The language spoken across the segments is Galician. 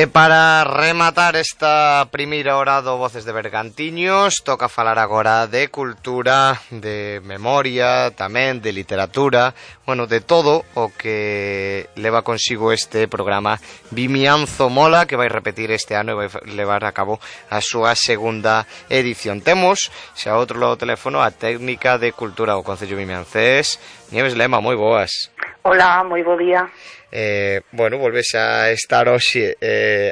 E para rematar esta primeira hora do Voces de Bergantiños, toca falar agora de cultura, de memoria, tamén de literatura, bueno, de todo o que leva consigo este programa Vimianzo Mola, que vai repetir este ano e vai levar a cabo a súa segunda edición. Temos, xa outro lado do teléfono, a técnica de cultura do Concello Vimiancés, Nieves Lema, moi boas. Hola, moi bo día. Bueno, volves a estar hoxe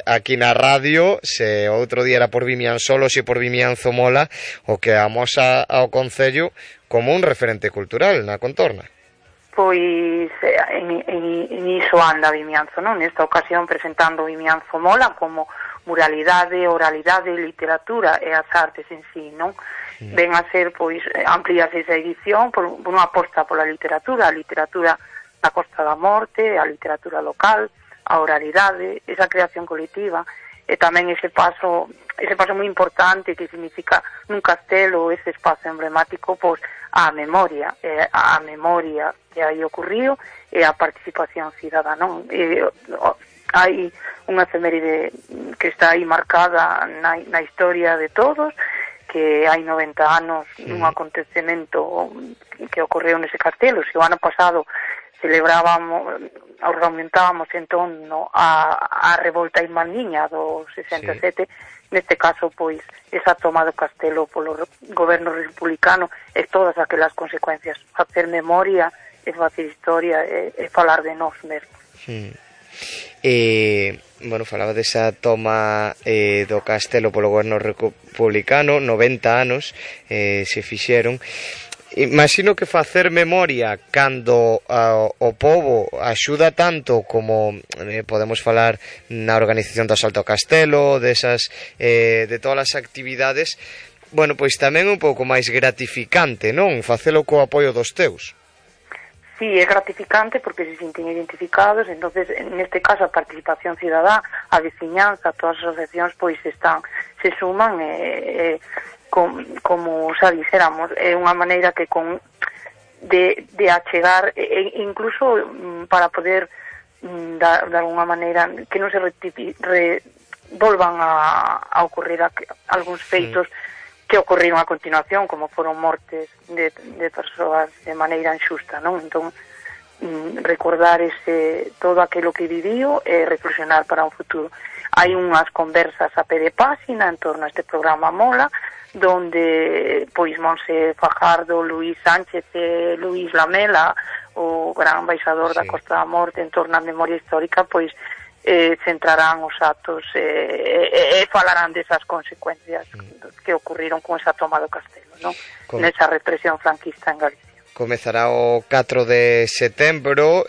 aquí na radio. Se outro día era por Vimianzo, hoxe por Vimianzo Mola, o que amosa ao Concello como un referente cultural na contorna. Pois en iso anda Vimianzo, non? Nesta ocasión presentando Vimianzo Mola como muralidade, oralidade, literatura e as artes en sí, non? Ven a ser, pois, ampliase esa edición por unha aposta pola literatura, a literatura da Costa da Morte, a literatura local, a oralidade, esa creación colectiva e tamén ese paso moi importante que significa nun castelo ese espazo emblemático, pois a memoria que hai ocurrido e a participación cidadá, non? Hai unha efeméride que está aí marcada na historia de todos, que hai 90 anos un acontecemento que ocorreu nese castelo. Se o ano pasado argumentábamos en torno a revolta irmandiña do 67, neste caso, pois, esa toma do castelo polo goberno republicano e todas aquelas consecuencias. Facer memoria e facer historia e falar de nós mesmos. Bueno, falaba desa toma do castelo polo goberno republicano, 90 anos se fixeron. Imagino que facer memoria cando o pobo axuda tanto como podemos falar na organización do asalto ao castelo, de todas as actividades, bueno, pois tamén un pouco máis gratificante, non? Facelo co apoio dos teus. Sí, é gratificante porque se sinten identificados, entonces neste caso a participación cidadá, a veciñanza, todas as asociacións pois se suman como xa dixéramos, é unha maneira que de achegar incluso para poder de alguna maneira que non se volvan a ocurrir algúns feitos que ocorreron a continuación, como foron mortes de persoas de maneira injusta, non? Entón, recordar todo aquilo que viviu e reflexionar para un futuro. Hai unhas conversas a pé de páxina en torno a este programa Mola, donde pois Monse Fajardo, Luís Sánchez e Luís Lamela, o gran embaixador da Costa da Morte en torno á memoria histórica, pois centrarán os actos e falarán desas consecuencias que ocurriron con esa toma do castelo, non? Nesa represión franquista en Galicia. Comezará o 4 de setembro,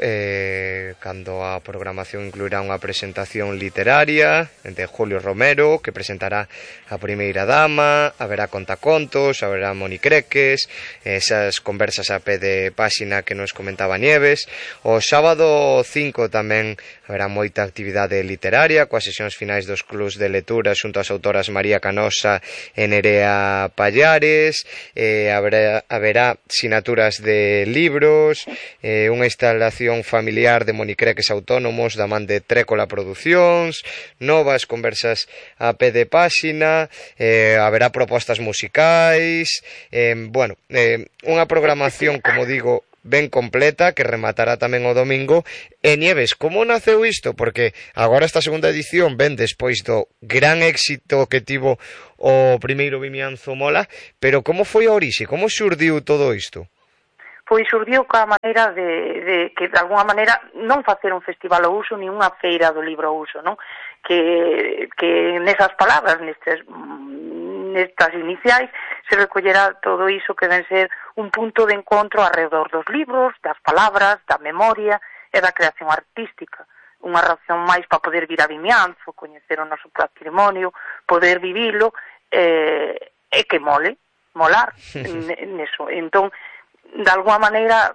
cando a programación incluirá unha presentación literaria de Julio Romero, que presentará a primeira dama, haberá contacontos, haberá monicreques, esas conversas a pé de páxina que nos comentaba Nieves. O sábado 5 tamén haberá moita actividade literaria, coas sesións finais dos clubs de lectura xunto ás autoras María Canosa e Nerea Pallares. Haberá sinaturas de libros, unha instalación familiar de monicreques autónomos da man de Trécola Producións, novas conversas a pé de páxina, haberá propostas musicais, unha programación, como digo, ben completa, que rematará tamén o domingo. E Nieves, como naceu isto? Porque agora esta segunda edición ven despois do gran éxito que tivo o primeiro Vimianzo Mola, pero como foi a orixe? Como xurdiu todo isto? Pois xurdiu ca maneira de que de alguna maneira non facer un festival ao uso ni unha feira do libro ao uso, non? Que nesas palabras, nestas iniciais, se recollerá todo iso que ven ser un punto de encontro alrededor dos libros, das palabras, da memoria e da creación artística. Unha razón máis para poder vir a Vimianzo, coñecer o noso patrimonio, poder vivilo e que molar neso. Entón, de alguma maneira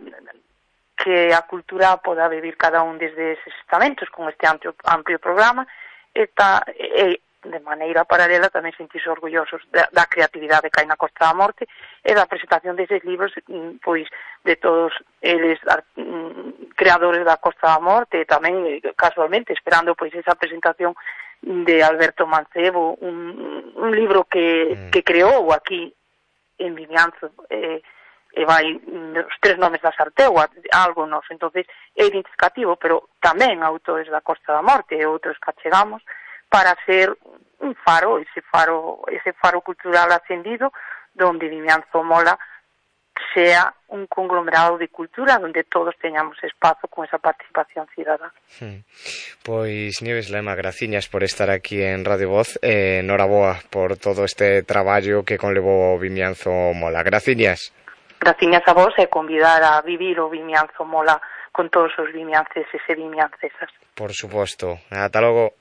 que a cultura poda vivir cada un desde eses estamentos con este amplio programa e de maneira paralela tamén sentirse orgullosos da creatividade que hai na Costa da Morte e da presentación deses libros, pois, de todos eles creadores da Costa da Morte e tamén, casualmente, esperando pois esa presentación de Alberto Mancebo, un libro que creou aquí en Vimianzo, e vai os 3 nomes da Sartegua, algo nos, entonces é identificativo, pero tamén autores da Costa da Morte e outros que achegamos para ser un faro, ese faro cultural ascendido, donde Vimianzo Mola sea un conglomerado de cultura donde todos teñamos espazo con esa participación cidadá. Pois Nieves Lema, graciñas por estar aquí en Radio Voz, noraboa por todo este traballo que conlevou o Vimianzo Mola. Graciñas. Graciñas a vos e convidar a vivir o Vimianzo Mola con todos os vimianceses e vimiancesas. Por suposto. Ata logo.